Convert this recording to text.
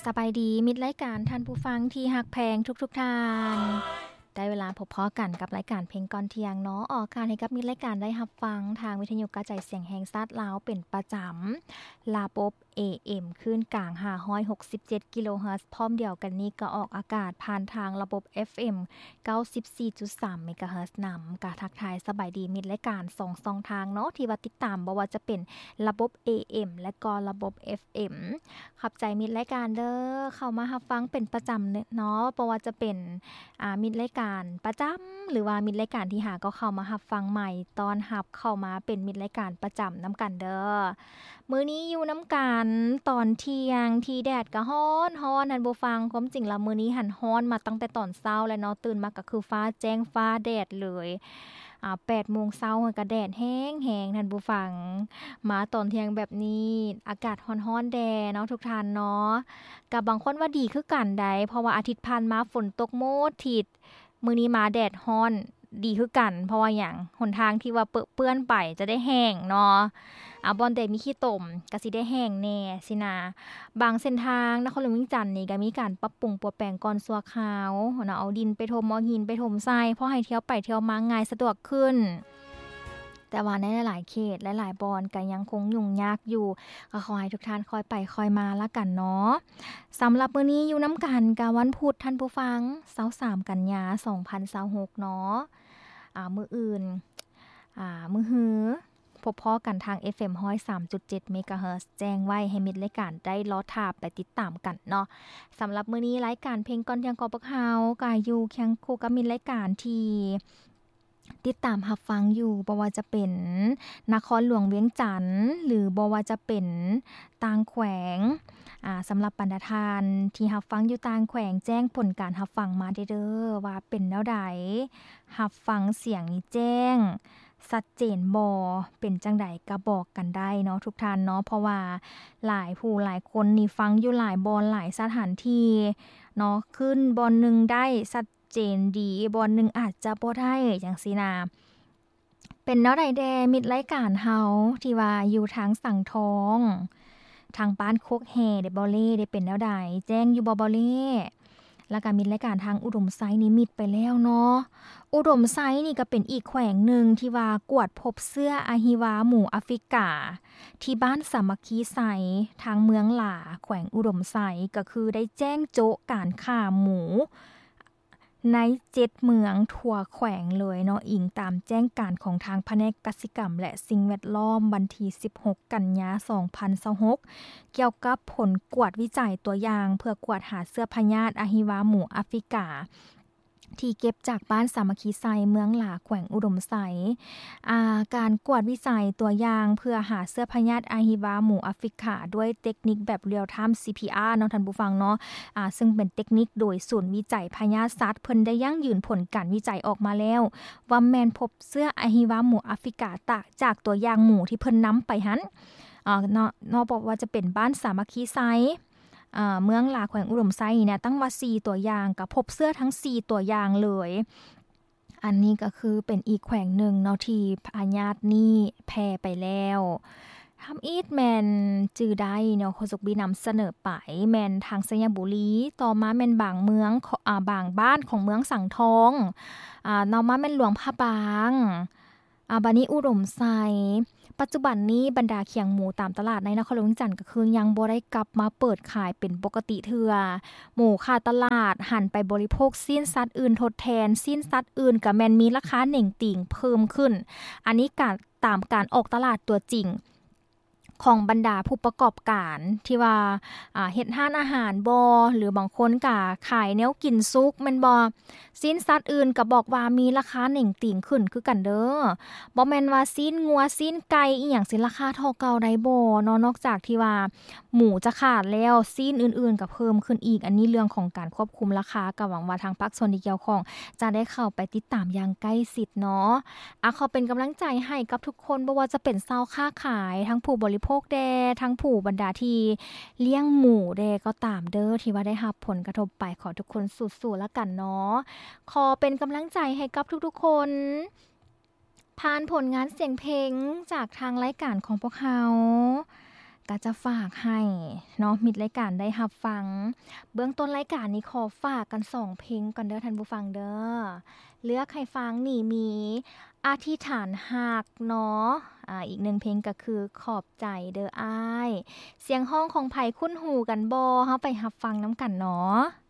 ສະບາຍດີມິດລາຍການ ທ່ານຜູ້ຟັງທີ່ຮັກແພງທຸກໆທ່ານ. ໄດ້ເວລາພົບພໍ້ກັນກັບລາຍການເພງກ່ອນທ່ຽງເນາະ, ອອກອາກາດໃຫ້ກັບມິດລາຍການໄດ້ຮັບຟັງທາງວິທະຍຸກະຈາຍສຽງແຫ່ງຊາດລາວເປັນປະຈຳ, ລະບົບ ເອເອັມ ຄື້ນກາງ ຫ້າຮ້ອຍຫົກສິບເຈັດ ກິໂລເຮີດ, ພ້ອມດຽວກັນນີ້ກໍອອກອາກາດຜ່ານທາງລະບົບ ເອັຟເອັມ ເກົ້າສິບສີ່ຈຸດສາມ ເມກາເຮີດນຳ. ກະທັກທາຍສະບາຍດີມິດລາຍການສອງຊ່ອງທາງເນາະ ທີ່ວ່າຕິດຕາມ, ບໍ່ວ່າຈະເປັນລະບົບ ເອເອັມ ແລະກໍລະບົບ ເອັຟເອັມ. ຂອບໃຈມິດລາຍການເດີ ເຂົ້າມາຮັບຟັງເປັນປະຈຳເນາະ, ບໍ່ວ່າຈະເປັນ ອາ ມິດລາຍການປະຈຳ ຫຼືວ່າມິດລາຍການທີ່ຫາກໍເຂົ້າມາຮັບຟັງໃໝ່, ຕ້ອນຮັບເຂົ້າມາເປັນມິດລາຍການປະຈຳນຳກັນເດີ. ມື້ນີ້ຢູ່ນຳກັນຕອນທ່ຽງທີ່ແດດກໍຮ້ອນໆ ທ່ານຜູ້ຟັງ. ຄວາມຈິງແລ້ວມື້ນີ້ຫັ້ນຮ້ອນມາຕັ້ງແຕ່ຕອນເຊົ້າແລ້ວເນາະ, ຕື່ນມາກໍຄືຟ້າແຈ້ງຟ້າແດດເລີຍ. ອາ ແປດໂມງເຊົ້າກໍແດດແຮງໆ ທ່ານຜູ້ຟັງ, ມາຕອນທ່ຽງແບບນີ້ອາກາດຮ້ອນໆແດ່ເນາະ ທຸກທ່ານເນາະ. ກໍບາງຄົນວ່າດີຄືກັນໃດ, ເພາະວ່າອາທິດຜ່ານມາຝົນຕົກໝົດທິດ, ມື້ນີ້ມາແດດຮ້ອນ ດີຄືກັນ. ເພາະວ່າຫຍັງ? ຫົນທາງທີ່ວ່າເປິເປື້ອນໄປຈະໄດ້ແຫ້ງເນາະ, ອາ ບ່ອນໃດມີຂີ້ຕົມກໍຊິໄດ້ແຫ້ງແດ່ຊີ້ນະ. ບາງເສັ້ນທາງນະຄອນຫຼວງວຽງຈັນນີ້ກໍມີການປັບປຸງປົວແປງກ່ອນຊົ່ວຄາວເນາະ, ເອົາດິນໄປຖົມ ເອົາຫີນໄປຖົມໃສ່ ພໍໃຫ້ທ່ຽວໄປທ່ຽວມາງ່າຍສະດວກຂຶ້ນ. ແຕ່ວ່າໃນຫຼາຍໆເຂດ ຫຼາຍໆບ່ອນກໍຍັງຄົງຫຍຸ້ງຍາກຢູ່, ກໍຂໍໃຫ້ທຸກທ່ານຄ່ອຍໄປຄ່ອຍມາລະກັນເນາະ. ສຳລັບມື້ນີ້ຢູ່ນຳກັນກັບວັນພຸດ ທ່ານຜູ້ຟັງ, ຊາວສາມ ກັນຍາ ສອງພັນຊາວຫົກເນາະ. ອາ ມື້ອື່ນ ອາ ມື້ຮື ພົບພໍ້ກັນທາງ ເອັຟເອັມ ຮ້ອຍສາມຈຸດເຈັດ ເມກາເຮີດ, ແຈ້ງໄວ້ໃຫ້ມິດລາຍການໄດ້ລໍຖ້າໄປຕິດຕາມກັນເນາະ. ສຳລັບມື້ນີ້ລາຍການເພງກ່ອນທ່ຽງຂອງພວກເຮົາ ກໍຢູ່ຄຽງຄູ່ກັບມິດລາຍການທີ່ ຕິດຕາມຮັບຟັງຢູ່, ບໍ່ວ່າຈະເປັນນະຄອນຫຼວງວຽງຈັນ ຫຼື ບໍ່ວ່າຈະເປັນຕ່າງແຂວງ. ອາ ສຳລັບບັນດາທ່ານທີ່ຮັບຟັງຢູ່ຕ່າງແຂວງ, ແຈ້ງຜົນການຮັບຟັງມາແດ່ເດີ ວ່າເປັນແນວໃດ, ຮັບຟັງສຽງນີ້ແຈ້ງ ຊັດເຈນບໍ່, ເປັນຈັ່ງໃດກໍບອກກັນໄດ້ເນາະ ທຸກທ່ານເນາະ. ເພາະວ່າຫຼາຍຜູ້ຫຼາຍຄົນນີ້ຟັງຢູ່ຫຼາຍບ່ອນ, ຫຼາຍສະຖານທີ່ເນາະ, ຂຶ້ນບ່ອນໜຶ່ງໄດ້ຊັດ ເຈນດີ, ບ່ອນໜຶ່ງອາດຈະບໍ່ໄດ້ ຈັ່ງຊີ້ນະ. ເປັນແນວໃດແດ່ ມິດລາຍການເຮົາທີ່ວ່າຢູ່ທາງສັງທອງ, ທາງບ້ານໂຄກແຮ່ເດ ບໍ່ເລ ເດ ເປັນແນວໃດ? ແຈ້ງຢູ່ບໍ່ ບໍ່ເລ? ແລ້ວກະມິດລາຍການທາງອຸດົມໄຊນີ້ມິດໄປແລ້ວເນາະ. ອຸດົມໄຊນີ້ກະເປັນອີກແຂວງໜຶ່ງທີ່ວ່າກວດພົບເຊື້ອອະຫິວາໝູອາຟຣິກາ ທີ່ບ້ານສາມັກຄີໄຊ ທາງເມືອງຫຼາ ແຂວງອຸດົມໄຊ ກະຄືໄດ້ແຈ້ງໂຈະການຂ້າໝູ ໃນເຈັດເມືອງທົ່ວແຂວງເລີຍເນາະ, ອີງຕາມແຈ້ງການຂອງທາງພະແນກກະສິກຳ ແລະ ສິ່ງແວດລ້ອມ ວັນທີສິບຫົກ ກັນຍາ ສອງພັນຊາວຫົກ ກ່ຽວກັບຜົນກວດວິໄຈຕົວຢ່າງເພື່ອກວດຫາເຊື້ອພະຍາດອະຫິວາໝູອາຟຣິກາ ທີ່ເກັບຈາກບ້ານສາມັກຄີໄຊ ເມືອງຫຼາ ແຂວງອຸດົມໄຊ. ອາ ການກວດວິໄຈຕົວຢ່າງເພື່ອຫາເຊື້ອພະຍາດອະຫິວາໝູອາຟຣິກາດ້ວຍເຕັກນິກແບບ real time ຊີພີອາ ເນາະ ທ່ານຜູ້ຟັງເນາະ, ອາ ເຊິ່ງເປັນເຕັກນິກໂດຍສູນວິໄຈພະຍາດສັດ ເພິ່ນໄດ້ຢັ້ງຢືນຜົນການວິໄຈອອກມາແລ້ວ ວ່າແມ່ນພົບເຊື້ອອະຫິວາໝູອາຟຣິກາ ຕາ ຈາກຕົວຢ່າງໝູທີ່ເພິ່ນນຳໄປຫັ້ນ ອາ ເນາະ ເນາະ ບໍ່ວ່າຈະເປັນບ້ານສາມັກຄີໄຊ ອາ ເມືອງຫຼາ ແຂວງອຸດົມໄຊນີ້ນະ, ຕັ້ງວ່າສີ່ຕົວຢ່າງ ກໍພົບເຊື້ອທັງສີ່ຕົວຢ່າງເລີຍ. ອັນນີ້ກໍຄືເປັນອີກແຂວງໜຶ່ງເນາະ ທີ່ພະຍາດນີ້ແຜ່ໄປແລ້ວ. ທຳອິດແມ່ນຈື່ໄດ້ເນາະ, ໂຄສົກບີນຳສະເໜີໄປ ແມ່ນທາງໄຊຍະບູລີ, ຕໍ່ມາແມ່ນບາງເມືອງ ຂອງ ອາ ບາງບ້ານຂອງເມືອງສັງທອງ, ອາ ຕໍ່ມາແມ່ນຫຼວງພະບາງ. ອາ ບາດນີ້ອຸດົມໄຊ. ປັດຈຸບັນນີ້ບັນດາຄຽງໝູຕາມຕະຫຼາດໃນນະຄອນຫຼວງວຽງຈັນ ກໍຄືຍັງບໍ່ໄດ້ກັບມາເປີດຂາຍເປັນປົກກະຕິເທື່ອ. ໝູຂາດຕະຫຼາດ ຫັນໄປບໍລິໂພກຊີ້ນສັດອື່ນທົດແທນ, ຊີ້ນສັດອື່ນກໍແມ່ນມີລາຄາເໜັງຕີງເພີ່ມຂຶ້ນ. ອັນນີ້ການ ຕາມການອອກຕະຫຼາດຕົວຈິງ ຂອງບັນດາຜູ້ປະກອບການທີ່ວ່າ ອາ ເຮັດຮ້ານອາຫານບໍ ຫຼືບາງຄົນກະຂາຍແນວກິນສຸກແມ່ນບໍ? ຊີ້ນສັດອື່ນກະບອກວ່າມີລາຄາເໜັງຕີງຂຶ້ນຄືກັນເດີ. ບໍ່ແມ່ນວ່າຊີ້ນງົວ, ຊີ້ນໄກ່ ອີ່ຫຍັງຊິລາຄາເທົ່າເກົ່າໄດ້ບໍເນາະ? ນອກຈາກທີ່ວ່າໝູຈະຂາດແລ້ວ, ຊີ້ນອື່ນໆກະເພີ່ມຂຶ້ນອີກ. ອັນນີ້ເລື່ອງຂອງການຄວບຄຸມລາຄາ, ກະຫວັງວ່າທາງພາກສ່ວນທີ່ກ່ຽວຂ້ອງຈະໄດ້ເຂົ້າໄປຕິດຕາມຢ່າງໃກ້ຊິດເນາະ. ອາ ຂໍເປັນກຳລັງໃຈໃຫ້ກັບທຸກຄົນ, ບໍ່ວ່າຈະເປັນຊາວຄ້າຂາຍ, ທັງຜູ້ບໍລິໂພກແດ່, ທັງຜູ້ບັນດາທີ່ລ້ຽງໝູແດ່ກໍຕາມເດີ ທີ່ວ່າໄດ້ຮັບຜົນກະທົບໄປ. ຂໍທຸກຄົນສູ້ໆລະກັນເນາະ. ຂໍເປັນກຳລັງໃຈໃຫ້ກັບທຸກໆຄົນ ຜ່ານຜົນງານສຽງເພງຈາກທາງລາຍການຂອງພວກເຮົາ ກໍຈະຝາກໃຫ້ເນາະ ມິດລາຍການໄດ້ຮັບຟັງ. ເບື້ອງຕົ້ນລາຍການນີ້ຂໍຝາກກັນສອງເພງກ່ອນເດີທ່ານຜູ້ຟັງເດີ. ເລືອກໃຫ້ຟັງນີ້ມີ ອະທິຖານຮັກເນາະ ອາ ອີກໜຶ່ງເພງກໍຄື ຂອບໃຈເດີອ້າຍ. ສຽງຮ້ອງຂອງໃຜຄຸ້ນຫູກັນບໍ່? ເຮົາໄປຮັບຟັງນຳກັນເນາະ.